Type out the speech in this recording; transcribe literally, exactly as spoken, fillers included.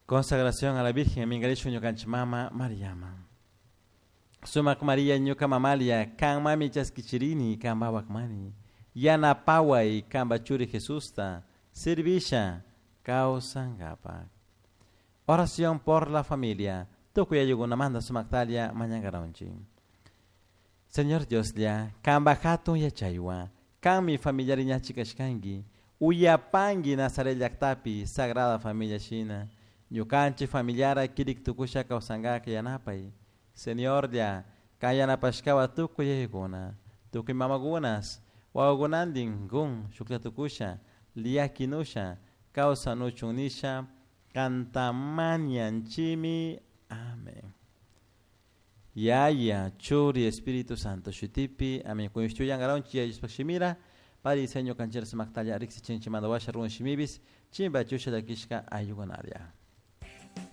Consagración a la Virgen minkarishun ñukanchik mama Mariama. Sumak Maria ñuka mamalia kanmami chaskichirini kanpawak mani. Yanapaway kanpa churi Jesusta servisha kawsankapak. Oración por la familia. Tukuy ayllukunamanta sumaktalla mañankaranchik. Señor Dioslla, kanpa hatun yachaywan, kanmi familiari ñachi kashkanki, uyapanki Nazaret llaktapi Sagrada Familia shina, ñukanchik familiara kirik tukusha kawsankaka yanapay. Señorlla, kan yanapashkawan tukuy yayakuna, tukuy mamakunas, wawakunantin kun shuklla tukusha, llakinusha, kawsanuchun nisha, kanta mañanchimi. Amén. Yaya, Churi, Espíritu Santo, shutipi, amén. Kuyushtuyangaronchi, Yaya shimira, pari seño kanchera sumaktalla riksichinchi mandawasha run shimibis, chimba chusha llakishka ayllukunaria.